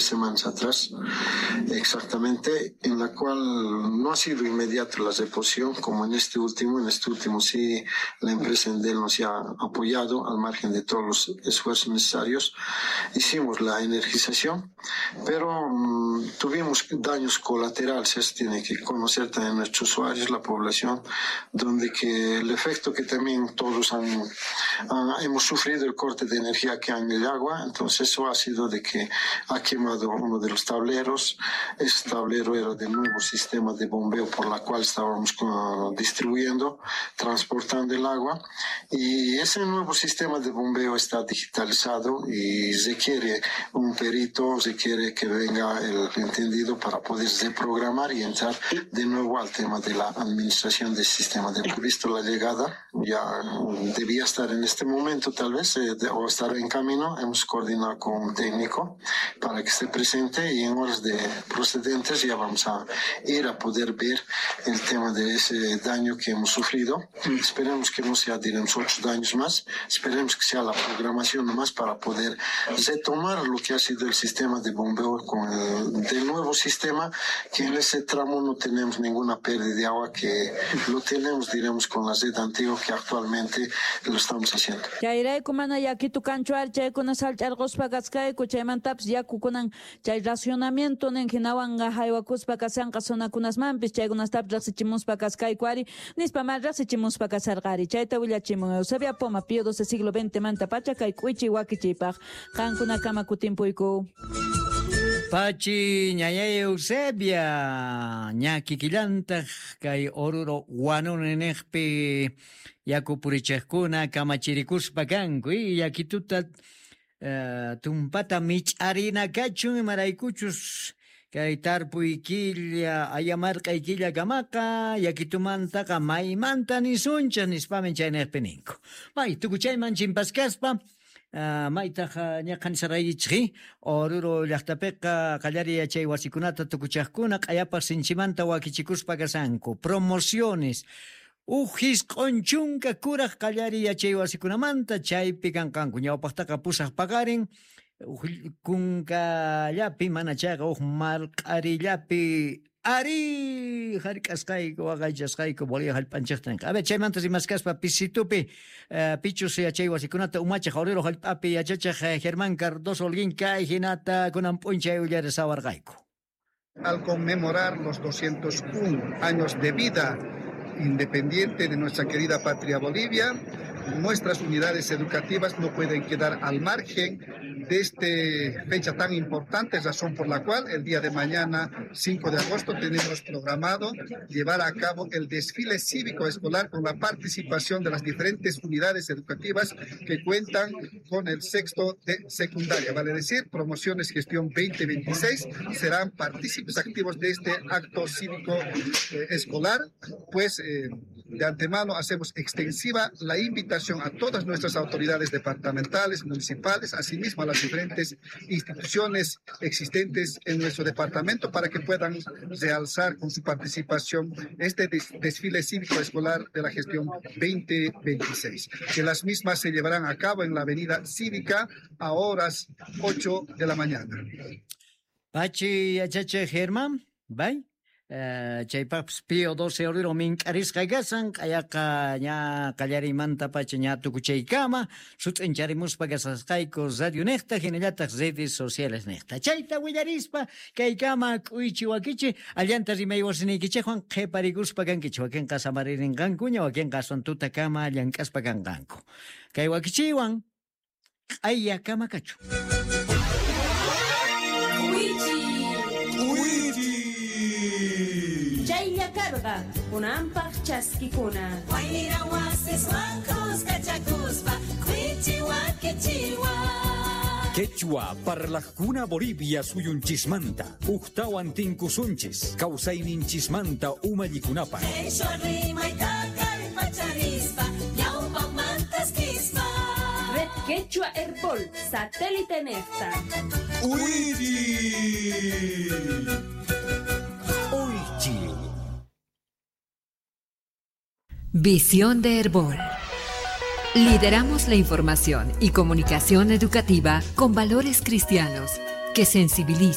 semanas atrás, exactamente, en la cual no ha sido inmediato la reposición, como en este último. En este último sí la empresa Endel nos ha apoyado al margen de todos los esfuerzos necesarios. Hicimos la energización, pero tuvimos daños colaterales, eso tiene que conocer también nuestros usuarios, la población, donde que el efecto que también todos hemos sufrido, el corte de energía que hay en el agua, entonces eso ha sido de que ha quemado uno de los tableros. Ese tablero era del nuevo sistema de bombeo por la cual estábamos distribuyendo, transportando el agua, y ese nuevo sistema de bombeo está digitalizado y requiere un perito, requiere que venga el entendido para poder reprogramar y entrar de nuevo al tema de la administración del sistema. De visto la llegada, ya debía estar en este momento tal vez, o estar en camino. Hemos coordinado con un técnico para que esté presente y en horas de procedentes ya vamos a ir a poder ver el tema de ese daño que hemos sufrido. Esperemos que no sea, diremos, 8 daños más. Esperemos que sea la programación nomás para poder retomar lo que ha sido el sistema de bombeo con el del nuevo sistema, que en ese tramo no tenemos ninguna pérdida de agua, que lo tenemos, diremos, con la red antigua que actualmente lo estamos haciendo. Chayrayku mana yakitu kanchu ari, chaykuna sallch'arquspa kaskayku, chaymantapis yakukunan chay racionamiento nin hinawanqa haywakuspa kasanqa zonakunasmanpis, chaykunastapis riqsichimuspa kaskayku ari, nispa ma riqsichimuspa kasarqari. Chayta willachimun Eusebia Poma, Pío XII siglo XX manta pacha kay k'uichi wakichiypaq. Qankunakama kutimpuyku. Pachi ñayay Eusebia, ña kikillantaq kay Oruro Huanuni yaku purichiqkuna kamachirikuspa kanku y yakituta tumpata mich'arina kachun imaraykuchus kay tarpuy killa ayamarqay killa kamaqa yakitumantaqa maymanta nisunchik nispami chaynejpi ninku. May tukuchayman chimpaskaspa maytaq ñaqanisaraykichik Oruro llaqtapiqa qallariy yachay wasikunata tukuchaqkuna q'ayapaq sinchimanta wakichikuspa kasanku promociones uj jisq'un chunka kuraq qallariy yachay wasikunamanta chaypi kanqanku ñawpaqtaqa pusaq paqarin uj kunkallapi mana chayqa uj marq'arillapi ari hark'asqayku waqaychasqayku Bolivia hallp'anchikta ninqa. A ver, chaymanta rimaskaspa pisitupi pichus yachay wasikunata umachiq Oruro hallp'api yachachiq Germán Cardoso Holguín kay hinata kunan p'unchay willarisawarqayku. Al conmemorar los 201 años de vida independiente de nuestra querida patria Bolivia, nuestras unidades educativas no pueden quedar al margen de esta fecha tan importante, razón por la cual el día de mañana, 5 de agosto, tenemos programado llevar a cabo el desfile cívico escolar con la participación de las diferentes unidades educativas que cuentan con el sexto de secundaria, vale decir, promociones gestión 2026 serán partícipes activos de este acto cívico escolar. Pues de antemano hacemos extensiva la invitación a todas nuestras autoridades departamentales, municipales, asimismo a las diferentes instituciones existentes en nuestro departamento para que puedan realzar con su participación este desfile cívico escolar de la gestión 2026, que las mismas se llevarán a cabo en la avenida Cívica a horas 8 de la mañana. Pachi yachachi Germán, bye. Chaypaqpis Pío XII Oruro mink'arisqa kasan q'ayaqa ña qallariymanta pacha ña tukuchaykama sut'incharimuspa kasasqayku radio niqta hinallataq redes sociales niqta chayta willarispa kaykama k'uychi wakichi allanta rimay wasiniykichikwan qhiparikuspa kankichik wakinqa samaririnqankuña wakinqa aswan tutakama llank'aspa kanqanku kay wakichiywan q'ayakama kachun. Karqa kunanpaq chaskikuna wayra wasiswan kuskachakuspa k'uychi wakichiwa. Quechua parlaqkuna Bolivia suyunchismanta uktawan tinkusunchis kawsayninchismanta umallikunapaq. Quechua rimayta kallpacharispa ñawpaqmantaskispa. Red Quechua Herbol satélite nefta. Uychi. Uychi. Visión de Herbol. Lideramos la información y comunicación educativa con valores cristianos que sensibilizan.